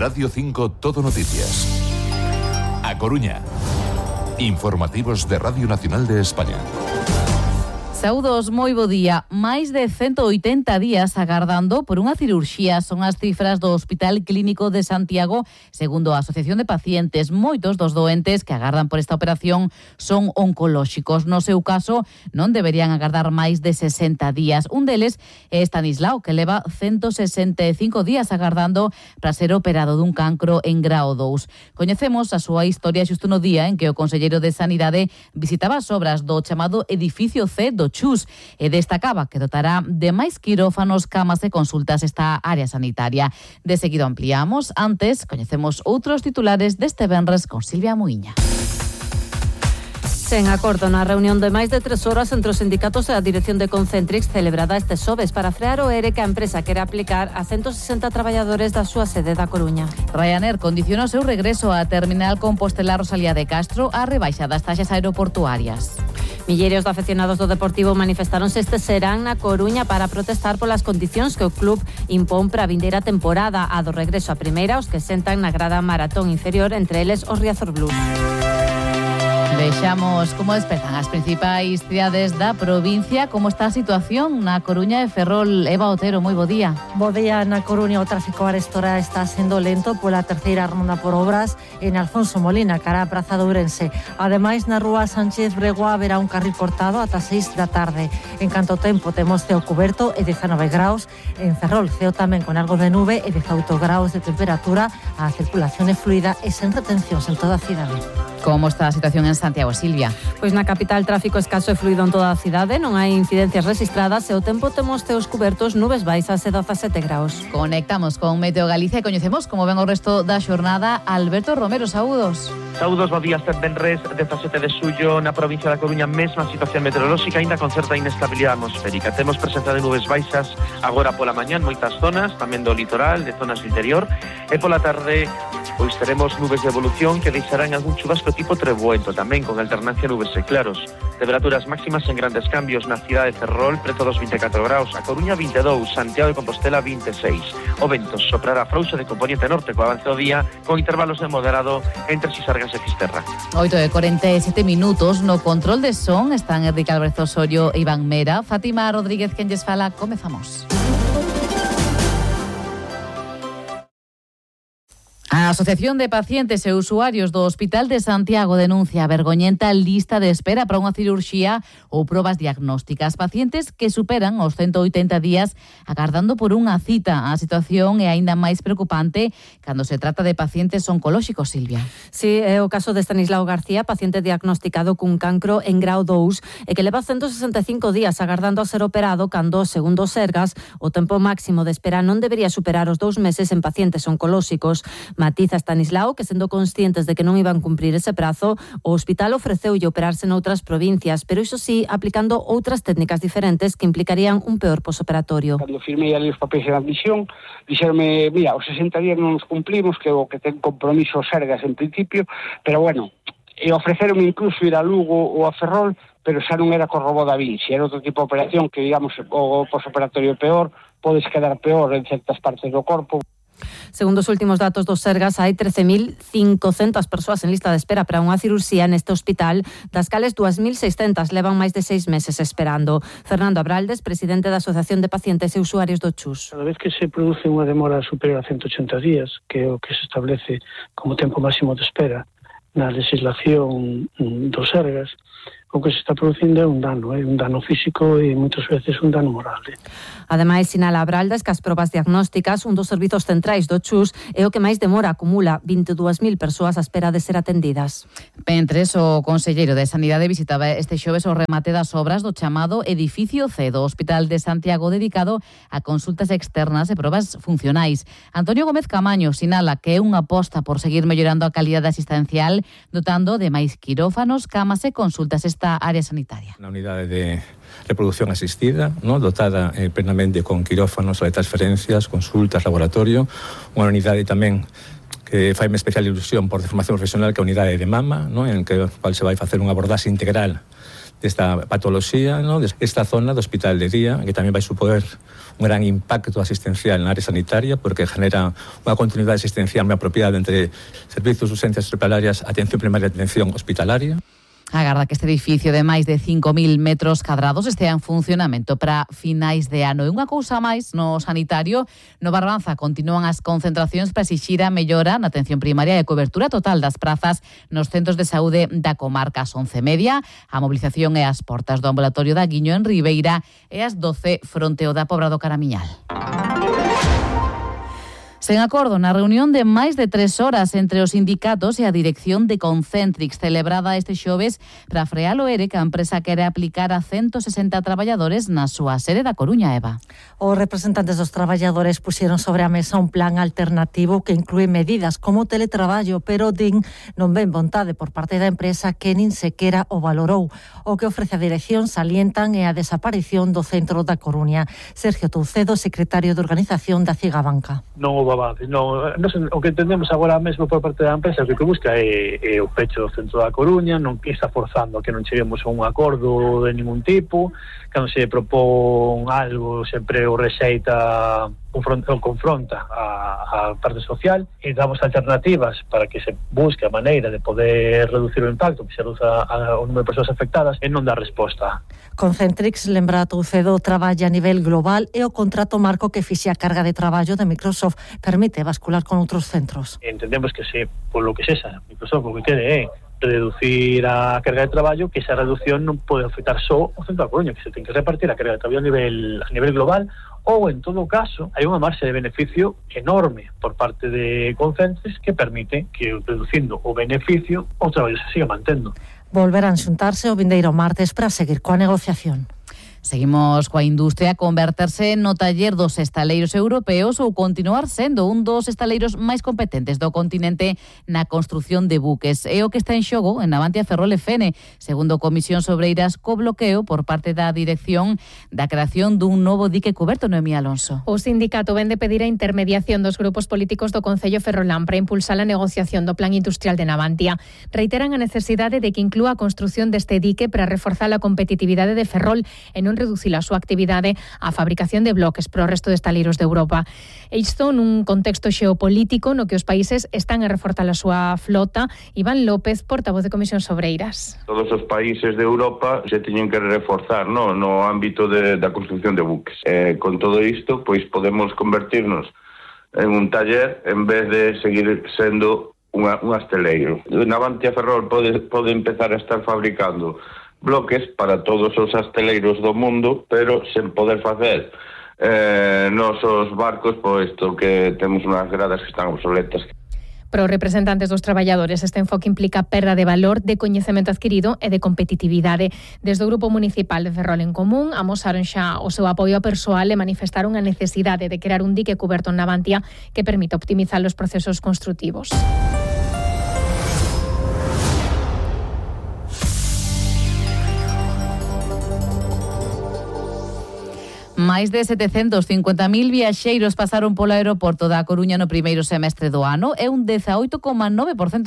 Radio 5 Todo Noticias. A Coruña. Informativos de Radio Nacional de España. Saúdos, moi bo día. Máis de 180 días agardando por unha cirurxía son as cifras do Hospital Clínico de Santiago, segundo a Asociación de Pacientes. Moitos dos doentes que agardan por esta operación son oncolóxicos. No seu caso, non deberían agardar máis de 60 días. Un deles é Estanislao, que leva 165 días agardando para ser operado dun cancro en grao 2. Coñecemos a súa historia xusto no día en que o conselleiro de Sanidade visitaba as obras do chamado Edificio C do Chus e destacaba que dotará de máis quirófanos, camas e consultas esta área sanitaria. De seguido ampliamos. Antes, coñecemos outros titulares deste venres con Silvia Muiña. Sen acordo na reunión de máis de 3 horas entre os sindicatos e a dirección de Concentrix celebrada este xoves para frear o ERE que a empresa quere aplicar a 160 traballadores da súa sede da Coruña. Ryanair condiciona o seu regreso á terminal Compostela Rosalía de Castro a rebaixa das taxas aeroportuarias. Millerios de afeccionados do Deportivo manifestaronse este serán na Coruña para protestar polas condicións que o club impón para a vindeira temporada, a do regreso a primeira, os que sentan na grada maratón inferior, entre eles os Riazor Blues. Vexamos como despertan as principais cidades da provincia, como está a situación na Coruña e Ferrol. Eva Otero, moi bo día. Bo día. Na Coruña o tráfico a esta hora está sendo lento pola terceira ronda por obras en Alfonso Molina, cara a Praza de Ourense. Ademais, na rúa Sánchez Bregua haberá un carril cortado ata 6 da tarde. En canto tempo, temos ceo cuberto e 19 graus. En Ferrol, ceo tamén con algo de nube e 18 graus de temperatura. A circulación é fluida e sen retencións en toda a cidade. Como está a situación en Santiago, Silvia? Pois na capital tráfico escaso e fluido en toda a cidade, non hai incidencias rexistradas e o tempo temos ceos cubertos, nubes baixas e 17 graus. Conectamos con Meteo Galicia e coñecemos como ven o resto da xornada. Alberto Romero, saúdos. Saúdos, bo día, este venres 17 de xullo na provincia da Coruña, mesma situación meteorolóxica, ainda con certa inestabilidade atmosférica. Temos presenza de nubes baixas agora pola mañá en moitas zonas, tamén do litoral, de zonas do interior, e pola tarde pois teremos nubes de evolución que deixarán algún chubasco tipo trebuento, tamén con alternancia nubes e claros. Temperaturas máximas en grandes cambios na cidade de Ferrol, preto dos 24 graus, a Coruña 22, Santiago de Compostela 26. O vento soprará frouxo de componente norte co avance do día, con intervalos de moderado entre Sisargas e Fisterra. 8:47 minutos. No control de son están Enrique Álvarez Osorio e Iván Mera. Fátima Rodríguez, quen lles fala, comezamos. A Asociación de Pacientes e Usuarios do Hospital de Santiago denuncia a vergoñenta lista de espera para unha cirurxía ou probas diagnósticas. Pacientes que superan os 180 días agardando por unha cita. A situación é aínda máis preocupante cando se trata de pacientes oncolóxicos, Silvia. Sí, é o caso de Estanislao García, paciente diagnosticado cun cancro en grao 2 e que leva 165 días agardando a ser operado cando, segundo os Sergas, o tempo máximo de espera non debería superar os 2 meses en pacientes oncolóxicos. Matiza Estanislao que, sendo conscientes de que non iban cumprir ese prazo, o hospital ofreceulle operarse noutras provincias, pero iso sí, aplicando outras técnicas diferentes que implicarían un peor posoperatorio. Cando firmei ali os papéis de admisión, dixeronme, mira, os 60 días non nos cumplimos, que o que ten compromiso Sergas en principio, pero bueno, e ofreceronme incluso ir a Lugo ou a Ferrol, pero xa non era co robot da Vinci, era outro tipo de operación que, digamos, o posoperatorio peor, podes quedar peor en certas partes do corpo. Segundo os últimos datos dos Sergas, hai 13.500 persoas en lista de espera para unha cirurxía neste hospital, das cales 2.600 levan máis de 6 meses esperando. Fernando Abraldes, presidente da Asociación de Pacientes e Usuarios do Chus. Cada vez que se produce unha demora superior a 180 días, que é o que se establece como tempo máximo de espera na legislación dos Sergas, o que se está producindo é un dano físico e moitas veces un dano moral. Ademais, sinala Abraldes que as probas diagnósticas, un dos servizos centrais do Chus, é o que máis demora, acumula 22.000 persoas á espera de ser atendidas. Mentres, o conselleiro de Sanidade visitaba este xoves o remate das obras do chamado Edificio C do Hospital de Santiago, dedicado a consultas externas e probas funcionais. Antonio Gómez Camaño sinala que é unha aposta por seguir mellorando a calidade asistencial, dotando de máis quirófanos, camas e consultas esta área sanitaria. Na unidade de reproducción asistida, ¿no? Dotada plenamente con quirófanos, transferencias, consultas, laboratorio, unha unidade tamén que faime especial ilusión por de formación profesional, que é a unidade de mama, ¿no? En que cual se vai facer unha abordaxe integral desta patoloxía, ¿no? Desta zona do hospital de día, que tamén vai suponer un gran impacto asistencial na área sanitaria, porque genera unha continuidade asistencial moi apropiada entre servizos de urgencias hospitalarias, atención primaria e atención hospitalaria. Agarda que este edificio de máis de 5.000 metros cadrados estea en funcionamento para finais de ano. E unha cousa máis, no sanitario, no Barbanza continúan as concentracións para exixir a mellora na atención primaria e cobertura total das prazas nos centros de saúde da comarca. Ás 11:30, a mobilización é ás portas do ambulatorio da Guiño en Ribeira e ás 12 fronte ao da Pobra do Caramiñal. Sen acordo na reunión de máis de 3 horas entre os sindicatos e a dirección de Concentrix, celebrada este xoves para frear o ERE que a empresa quere aplicar a 160 traballadores na súa sede da Coruña, Eva. Os representantes dos traballadores puxeron sobre a mesa un plan alternativo que inclúe medidas como teletraballo, pero din non ven vontade por parte da empresa que nin sequera o valorou. O que ofrece a dirección salientan é a desaparición do centro da Coruña. Sergio Toucedo, secretario de organización da Cigabanca. Non houve avance, o que entendemos agora mesmo por parte da empresa que busca é o pecho do centro da Coruña, non que está forzando a que non cheguemos a un acordo de ningún tipo, cando se propón algo sempre o rexeita ou confronta a parte social, e damos alternativas para que se busque a maneira de poder reducir o impacto, que se reduza o número de persoas afectadas e non dá resposta. Concentrix, lembra Toucedo, traballa a nivel global e o contrato marco que fixe a carga de traballo de Microsoft permite bascular con outros centros. Entendemos que se, por lo que sexa, Microsoft o que quere é reducir a carga de traballo, que esa reducción non pode afectar só o centro da Coruña, que se ten que repartir a carga de traballo a nivel global, ou en todo caso hai unha marxa de beneficio enorme por parte de Concentrix que permite que reducindo o beneficio o traballo se siga mantendo. Volverán xuntarse o vindeiro martes para seguir coa negociación. Seguimos coa industria a converterse no taller dos estaleiros europeos ou continuar sendo un dos estaleiros máis competentes do continente na construción de buques. É o que está en xogo en Navantia Ferrol e Fene, segundo Comisión Sobreiras, co bloqueo por parte da dirección da creación dun novo dique cuberto. Noemí Alonso. O sindicato vende pedir a intermediación dos grupos políticos do Concello Ferrolán para impulsar a negociación do plan industrial de Navantia. Reiteran a necesidade de que inclúa a construción deste dique para reforzar a competitividade de Ferrol e non reducir a súa actividade á fabricación de bloques para o resto de estaleiros de Europa. E isto nun contexto xeopolítico no que os países están a reforzar a súa flota. Iván López, portavoz de Comisión Sobreiras. Todos os países de Europa se teñen que reforzar no ámbito da construción de buques. Con todo isto, pois podemos convertirnos en un taller en vez de seguir sendo un asteleiro. Navantia Ferrol pode empezar a estar fabricando bloques para todos os asteleiros do mundo, pero sen poder facer nosos barcos, posto que temos unhas gradas que están obsoletas. Para os representantes dos traballadores, este enfoque implica perda de valor, de coñecemento adquirido e de competitividade. Desde o Grupo Municipal de Ferrol en Común amosaron xa o seu apoio ao persoal e manifestaron a necesidade de crear un dique cuberto en Navantia que permita optimizar os procesos construtivos. Máis de 750.000 viaxeiros pasaron polo aeroporto da Coruña no primeiro semestre do ano, é un 18,9%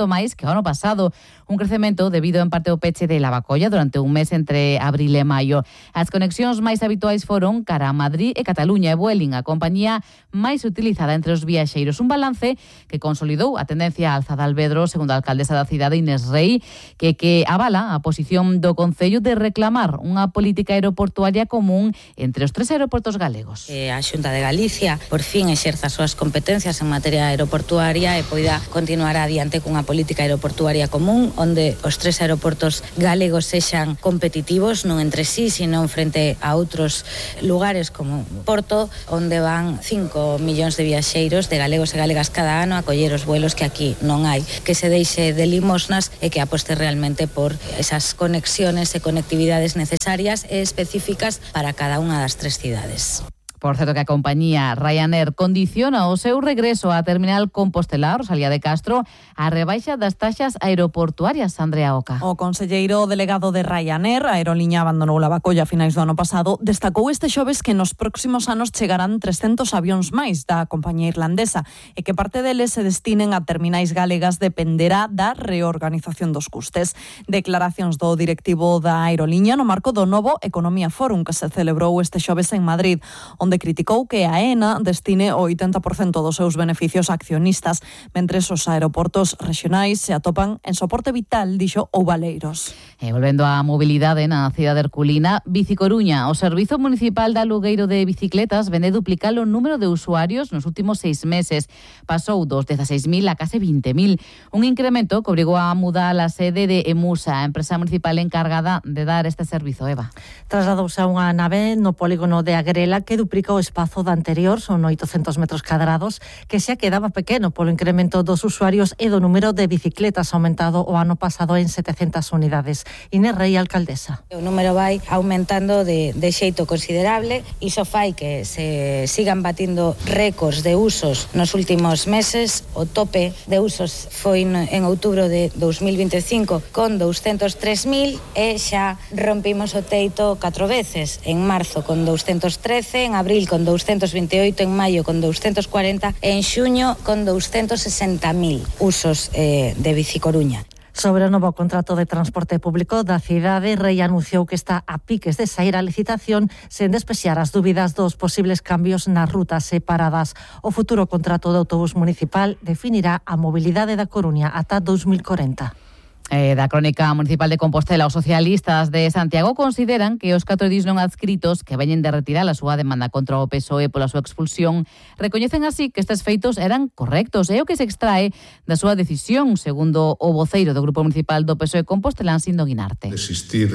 máis que o ano pasado, un crecemento debido en parte ao peche de Lavacolla durante un mes entre abril e maio. As conexións máis habituais foron cara a Madrid e Cataluña e Vueling, a compañía máis utilizada entre os viaxeiros, un balance que consolidou a tendencia alza de Alvedro, segundo a alcaldesa da cidade Inés Rei, que avala a posición do Concello de reclamar unha política aeroportuaria común entre os tres aeroportos galegos. A Xunta de Galicia por fin exerza as súas competencias en materia aeroportuaria e poida continuar adiante cunha política aeroportuaria común onde os tres aeroportos galegos sexan competitivos non entre sí, sino frente a outros lugares como Porto, onde van 5 millóns de viaxeiros de galegos e galegas cada ano a coller os vuelos que aquí non hai, que se deixe de limosnas e que aposte realmente por esas conexiones e conectividades necesarias e específicas para cada unha das tres cidades. Por certo que a compañía Ryanair condiciona o seu regreso á terminal Compostela, Rosalía de Castro, a rebaixa das taxas aeroportuarias. Andrea Oca. O conselleiro delegado de Ryanair, a aeroliña abandonou Lavacolla a finais do ano pasado, destacou este xoves que nos próximos anos chegarán 300 avións máis da compañía irlandesa e que parte deles se destinen a terminais galegas dependerá da reorganización dos custes. Declaracións do directivo da aeroliña no marco do novo Economía Forum que se celebrou este xoves en Madrid, onde criticou que a AENA destine o 80% dos seus beneficios a accionistas, mentres os aeroportos rexionais se atopan en soporte vital, dixo Ouvaleiros. E volvendo á mobilidade na cidade herculina, Bicicoruña, o Servizo Municipal de Alugueiro de Bicicletas vende duplicar o número de usuarios nos últimos 6 meses. Pasou dos 16.000 a case 20.000. Un incremento que obrigou a mudar a sede de Emusa, a empresa municipal encargada de dar este servizo. Eva. Trasladouse a unha nave no polígono de Agrela que duplica o espazo da anterior, son 800 metros cadrados, que xa quedaba pequeno polo incremento dos usuarios e do número de bicicletas aumentado o ano pasado en 700 unidades. Inés Rey, alcaldesa. O número vai aumentando de xeito considerable, iso fai que se sigan batindo récords de usos nos últimos meses. O tope de usos foi en outubro de 2025 con 203.000 e xa rompimos o teito 4 veces, en marzo con 213, en abril con 228, en maio con 240 e en xuño con 260.000 usos de Bicicoruña. Sobre o novo contrato de transporte público da cidade, Rei anunciou que está a piques de sair a licitación sen despexar as dúbidas dos posibles cambios nas rutas separadas. O futuro contrato de autobús municipal definirá a mobilidade da Coruña ata 2040. Da Crónica Municipal de Compostela, os socialistas de Santiago consideran que os 4 edís non adscritos que veñen de retirar a súa demanda contra o PSOE pola súa expulsión recoñecen así que estes feitos eran correctos e o que se extrae da súa decisión, segundo o voceiro do Grupo Municipal do PSOE Compostelán, Sindo Guinarte. Desistir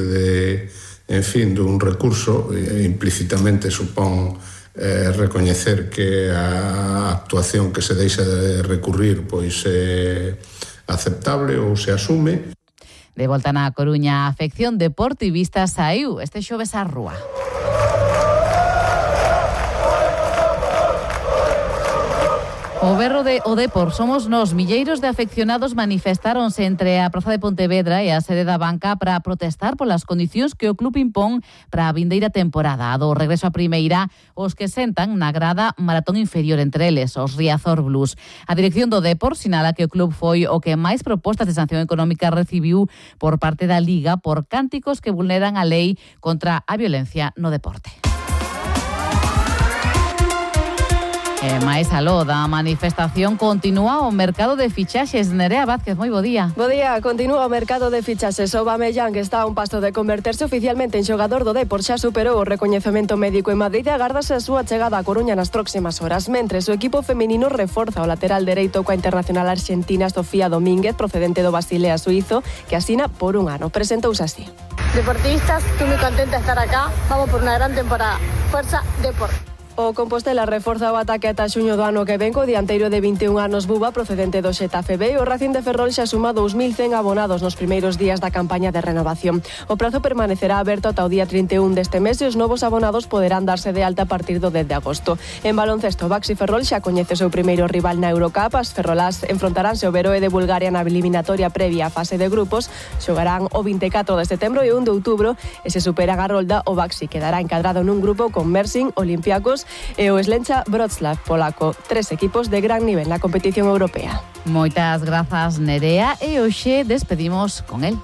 dun recurso implícitamente supón recoñecer que a actuación que se deixa de recurrir pois aceptable ou se asume. De volta na Coruña, a afección deportivista saiu este xoves á rúa. O berro de O Depor somos nós. Milleiros de afeccionados manifestáronse entre a Praza de Pontevedra e a sede da banca para protestar polas condicións que o club impón para a vindeira temporada. A do regreso a primeira, os que sentan na grada maratón inferior, entre eles os Riazor Blues. A dirección do Depor sinala que o club foi o que máis propostas de sanción económica recibiu por parte da Liga por cánticos que vulneran a lei contra a violencia no deporte. E máis aló da manifestación continúa o mercado de fichaxes. Nerea Vázquez, moi bo día. Bo día, continúa o mercado de fichaxes. Aubameyang está a un paso de converterse oficialmente en xogador do Depor. Xa superou o recoñecemento médico en Madrid e agárdase a súa chegada a Coruña nas próximas horas. Mentres, o equipo feminino reforza o lateral dereito coa internacional arxentina Sofía Domínguez, procedente do Basilea suizo, que asina por un ano. Presentouse así. Deportistas, estoy muy contenta de estar acá. Vamos por una gran temporada. Fuerza Depor. O Compostela reforza o ataque ata xuño do ano que ven co dianteiro de 21 anos Buba, procedente do Xetafe B, e o Racing de Ferrol xa suma 2.100 abonados nos primeiros días da campaña de renovación. O prazo permanecerá aberto ata o día 31 deste mes e os novos abonados poderán darse de alta a partir do 10 de agosto. En baloncesto, Baxi Ferrol xa coñece o seu primeiro rival na Eurocup. As ferrolás enfrontaránse o Veroe de Bulgaria na eliminatoria previa á fase de grupos. Xogarán o 24 de setembro e 1 de outubro, e se superan a rolda, o Baxi quedará encadrado nun grupo con Mersin, Olympiacos e o Slencha Wrocław polaco, 3 equipos de gran nivel na competición europea. Moitas grazas, Nerea, e hoxe despedimos con el.